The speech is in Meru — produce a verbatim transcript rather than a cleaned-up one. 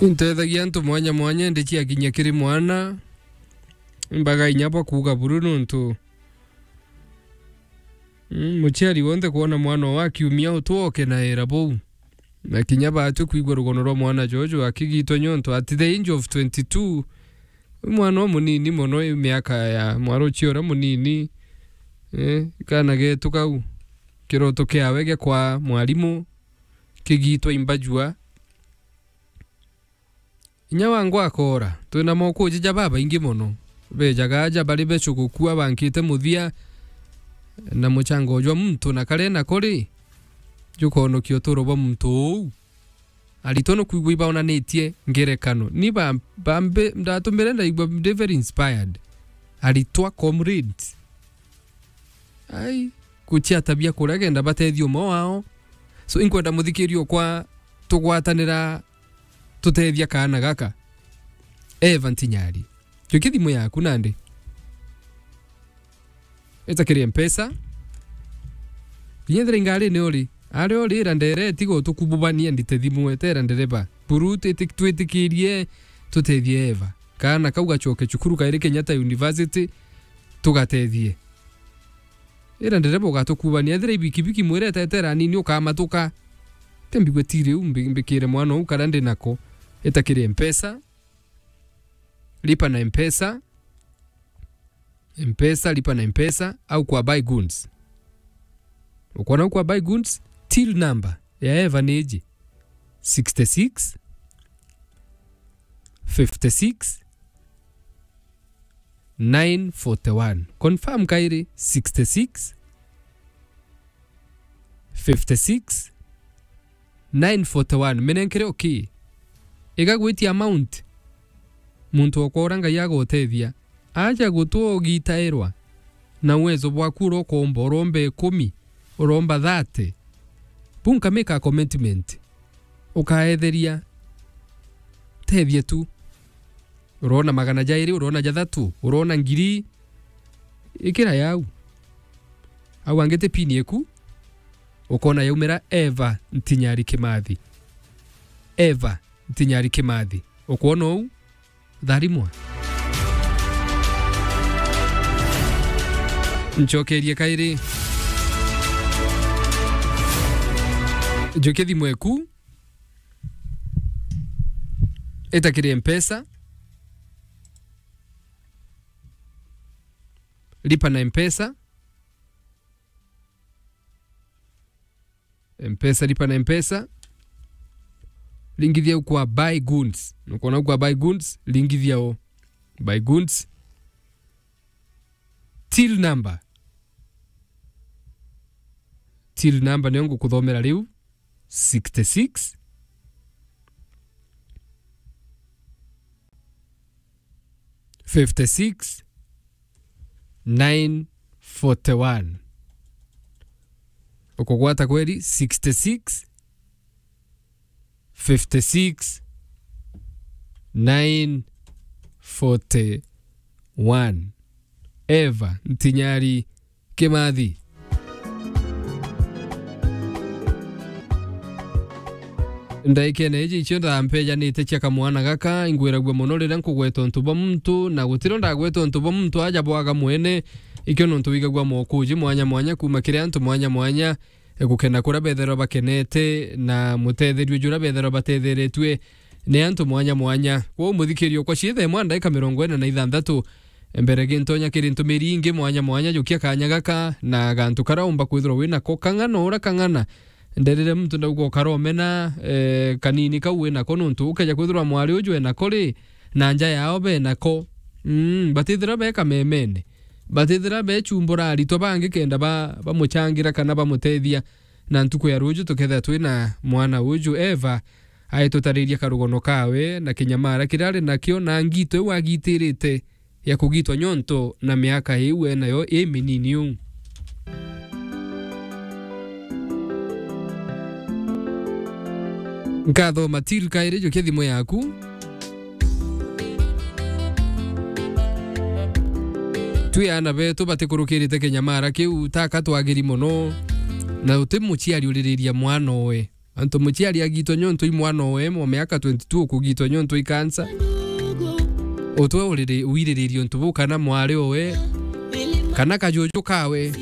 Ntethagia antu mwanya mwanya, indi ciakinya kiri mwana, mbaga inya bwa kuuga buru nontu, mm, muciari wonthe kwona mwana oo akiumia utwe okenaira buu. Na kinya baatwi kwigua rugono rwa mwana jojo akigitwa, nontu at the age of twenty-two, mwana umunini mono, i miaka ya mwaruchia uria munini, eh, kana getu kau, kiroto kiawe gia kwa mwarimu, kigitwa imbajua. Inya wangwa akoora, twina mokuji ja babaingi mono. Bejaga aja bari becu gukua bankite muthia, na muchango jwa muntu na kare na kuri, jukonokia uturo bwa muntu uu. Aritwa nukwigua ibaonanitie ngerekano. Ni ba-, bambe-, ndatumire ndaigua ndi very inspired. Aritwa comrades. Ai, guciatabia kuria kenda batethia umwe wao. So, inkwenda muthikiria okwa tugwatanira tutethia kaana gaka. Eva Ntinyari. Jukia thimu yaku nandi. Ita kiri Mpesa. Kinya ethira ingarine uri. Ari uri ira ndere tiga utukububania ndite thimu etera ndereba. Buru twiti-, twitikirie tutethie Eva. Kaana kau gacoke cukuru kairi Kenyatta University tugatethie. Ira ndereba ugatukubania, ethira ibikibiki mwire etetera anini ukamatuka. Te mbigwe ti riu mbi-, mbikire mwana uu karia ndi nako. Ita kiri Mpesa. Lipa na Mpesa. Mpesa, lipa na Mpesa, au kwa Buy Goods. Ukwona au kwa Buy Goods, till number ya Eva ni iji. Sixty-six, fifty-six, nine forty-one. Confirm kairi, sixty-six, fifty-six, nine forty-one. Minenkere okay. Iga gwitia amount. Muntu okwa uria Ngai agutethia. Aja gutwa ugitairwa na uwezo bwaku uria ukomba, uromba ikumi, uromba thirty. Bu nka make a commitment. Ukaetheria. Tethia tu. Urona magana jairi, urona jathatu, urona ngiri, ikira yau. Au angi ti pin eku, ukona yaumira Eva Ntinyari Kimathi. Eva Ntinyari Kimathi. Ukwona uu? Tharimwa. Ncokerie kairi. Njukia thimu eku. Ita kiri Mpesa. Lipa na Mpesa. Mpesa, lipa na Mpesa. Lingithia u kwa Buy Goods. Nukwona u kwa Buy Goods, lingithia u. Buy Goods. Till number. Till number niyo ngukuthomera riu. Sixty-six, fifty-six, nine forty-one. Ukugwata kweri? Sixty-six, fifty-six, nine forty-one. Eva Ntinyari Kimathi. Ndaikene iji icio ndampejanite cia kamwana gaka, ingwiragua mono riria nkugweta untu bwa muntu, na gutiro ndagweta untu bwa muntu aja bwaga mwene, ikio nontu wigagua mokuji mwanya mwanya kuma kiri antu mwanya mwanya, e, gukena kuria betherwa bakenete, na mutetherio juria betherwa batetheretue ni antu mwanya mwanya. Kwou muthikiria okwa ciithe imwe ndaika mirongo ina na ithanthatu, mbere gintonya kiri ntumiri ingi mwanya mwanya, jukia kanya gaka na gantu karia umba kwithirwa winako kang'ana uria kang'ana. Nderire muntu ndauga ukaromena, eh, kanini kau winako, nontu ukeja kwithirwa mwari uju enako ri, na nja yao benako. Mm, batithira beka memene. Batithira bechumbura aritwa bangi kenda ba-, bamuchangira kana bamutethia. Na ntuku ya ruju tukethira twina mwana uju Eva, aitutariria karugono kawe na kinyamara kiria ari nakio na ngito iu agitirite ya kugitwa nyonto na miaka iu enayo iminini uu. Nkatho Matil kairi, jukia thimu yaku. Twi aana betu batikurukirite kinyamara kiu, taka twagiri mono, na uti muciari uririria mwana owe. Antu muciari agitwa nyontu i mwana owe wa miaka twenty-two ukugitwa nyontu i kansa. Utwe uriri-, wiriririe untu buu kana mwari owe, kana kajuju kawe,